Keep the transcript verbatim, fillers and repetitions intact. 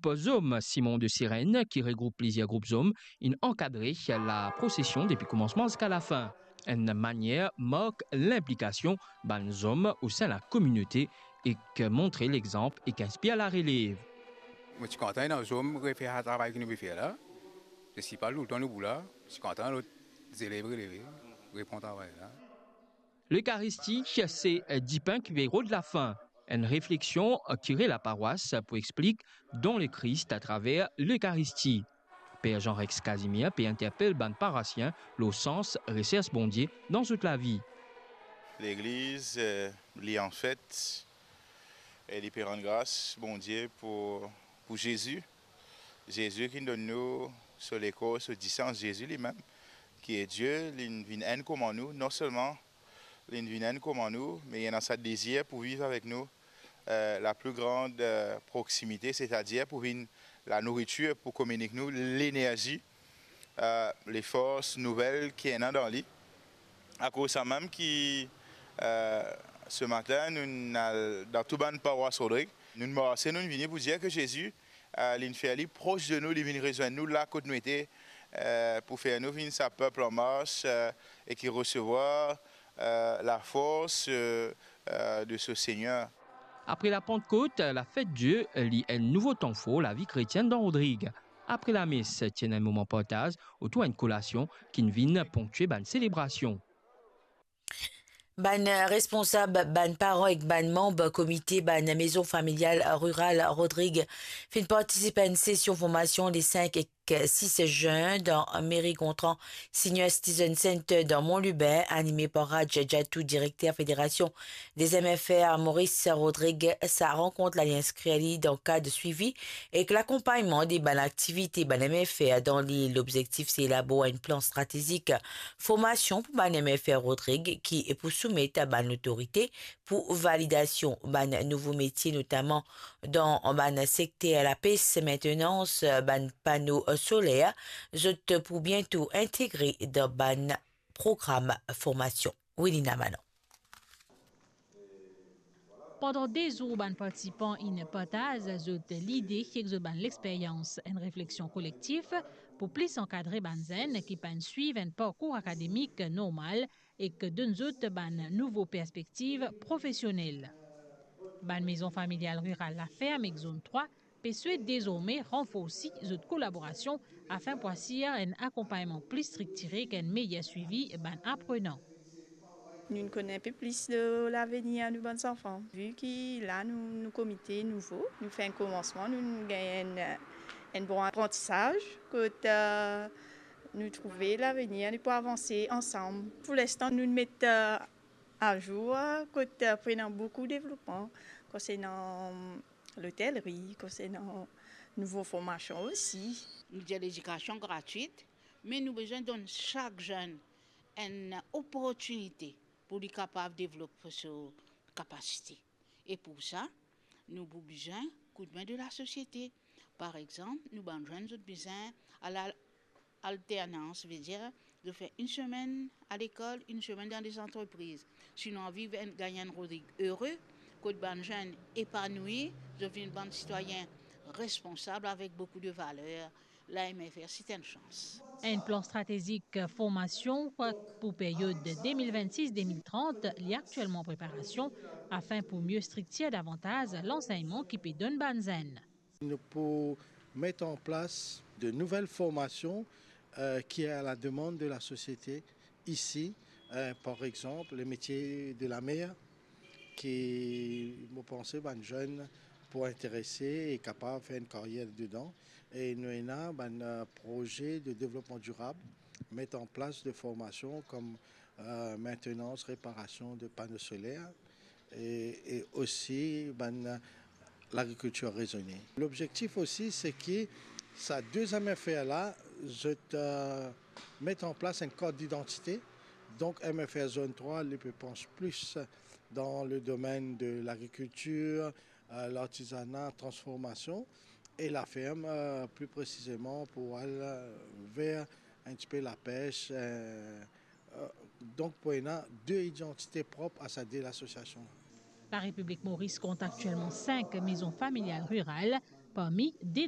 group zom Simon de Sirène, ki regroup plizier group zom, inn ankadre laprosesion depi koumansman ziska lafin. Enn manier mark linplikasion bann zom osin lakominote ek montre lexanp ek inspir larelev. Mo ti kontan ena zom refer sa travay ki nou pe fer la. Se pa toultan nou pou la. Mo ti kontan lot zelev releve, repran travay la. Lekaristi, se dipin ki pe rod lafin. Enn refleksion kire laparwas pou explik don Lekris atraver Lekaristi. Per Jean Rex Casimir pe interpel bann parosien lor sans resers Bondie dan zot lavi. Legliz, eh, li an fet, e li pe rann gras Bondie pou, pou Zezi. Zezi ki donn nou so lekor, so disans, Zezi limem, ki e Die, li vinn enn kouma nou, non selman li vinn enn kouma nou, me li ena sa dezir pou viv avek nou, eh, la plus grande, eh, proximité, c'est-à-dire pou vinn lanouritir, pou kominik nou lenerzi, eh, lefors nouvel ki ena dan li. Akoz samem ki, eh, se matin, nou al dan tou bann parwas Rodrig, nou marse, nou vini pou dir ki Zezi, eh, li fer li pros de nou, li vinn rezwenn nou la kot nou ete, eh, pou fer nou vinn sa pep an mars, eh, e ki resevwar, eh, lafors, eh, eh, de so Segner. Apre Lapantkot, lafet Die, li enn nouvo tan for lavi kretienn dan Rodrig. Apre lames, ti ena enn moman partaz otour enn kolasion ki vinn ponktie bann selebrasion. Bann responsab, bann paran ek bann manb komite bann mezon familial riral Rodrig finn partisip a enn sesion formasion le sink ek sis zin dan meri Gontran Senior Citizen Center dan Mont Lubin, anime par Raj Jatou, direkter Federasion des M F R Maurice Rodrig. Sa rankont la li inskrir li dan kad swivi ek lakonpagnman de bann aktivite bann M F R dan lil. Lobzektif se elabor enn plan stratezik formasion pou bann M F R Rodrig ki pou soumet a bann lotorite pou validasion. Bann nouvo metie, notaman dan bann sekter lapes, maintenans bann pano soler, zot pou biento integre dan bann program formasion. Wilina Manon. Pandan de zour, bann partisipan inn partaz zot lide ek zot bann lexperyans. Enn refleksion kolektif pou plis ankadre bann zenn ki pa'nn swiv enn parkour akademik normal ek donn zot bann nouvo perspektiv profesionel. Bann mezon familial riral Laferm ek Zone trwa pe swet dezorme ranforsi zot kolaborasion afin pou asir enn akonpagnman pli striktire ek enn meyer swivi bann aprenan. Nou'nn konn enpe plis de lavenir nou bann zanfan, vi ki la nou, nou komite nouvo, nou fer enn koumansman, nou'nn gagn enn, enn bon aprantisaz, kot, eh, nou trouve lavenir nou pou avanse ansam. Pou linstan, nou'nn met, eh, azour, kot, eh, pou ena boukou devlopman konsernan lotelri, konsernan nouvo formasion osi. Nou dir ledikasion gratwit, me nou bizin donn sak zenn enn oportinite pou li kapav devlop so kapasite. E pou sa, nou pou bizin koudme de lasosiete. Par exanp, nou bann zenn, zot bizin al a alternans, vedir zot fer enn semenn a lekol, enn semenn dan lezantrepriz. Si nou anvi vinn gagn enn Rodrig ere, kot bann zenn epanoui, zot vinn bann sitwayin responsab avek boukou de valer, la M F R se enn sans. Enn plan stratezik formasion pou period de de mil vennsis de mil trant, li aktielman an preparasion, afin pou mie striktir davantaz lansegnman ki pe donn bann zenn. Nou pou met an plas de nouvel formasion, eh, ki est à la demande de la société ici, eh, par exemple, le métier de la mer, ki, mo panse, bann zenn pou interese e kapav fer enn karyer dedan. E nou ena bann, eh, proze de devlopman dirab, met an plas de formasion kom, eh, maintenance, réparation de panneaux solaires, e, e osi bann lagrikiltir rezone. Lobzektif osi, se ki sa de M F R la, zot, eh, met an plas enn kart didantite. Donk, M F R Zone trwa, li pe pans plis dan le domenn de lagrikiltir, eh, lartizana, transformasion, e Laferm, eh, pli presizeman pou al, eh, ver enn tipe lapes, eh, eh, donk pou ena de idantite prop a sa de lasosiasion. Larepiblik Moris kont aktielman sink mezon familial riral, parmi de